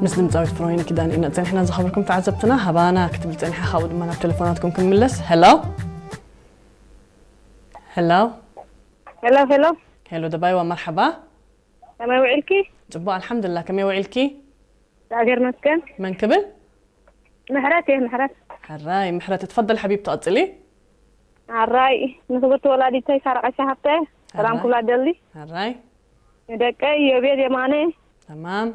ምስ ድምፃዊት ፍሮይን ኪዳን ኢና ጸኒሕና። ዝኸበርኩም ተዓዘብትና፣ ሃባና ክትብል ጸኒሓ፣ ካብኡ ድማ ናብ ቴሌፎናትኩም ክንምለስ። ሄሎ፣ ሄሎ፣ ሄሎ ሄሎ፣ ሄሎ ደባይዋ፣ መርሓባ። ከመይ ውዒልኪ? ጽቡቕ ኣልሓምዱላ። ከመይ ውዒልኪ? እግዚኣብሔር ይመስገን። መን ክብል? ምሕረት እየ፣ ምሕረት። ሕራይ ምሕረት፣ እትፈደል ሓቢብቲ ቀጽሊ። ኣራይ ንክብርቲ ወላዲተይ ሳራ ቀሻ ሃብተ ሰላም ኣራይ። ክብላ ደሊ። ሕራይ ንደቀይ ዮቤል የማነ፣ ተማም።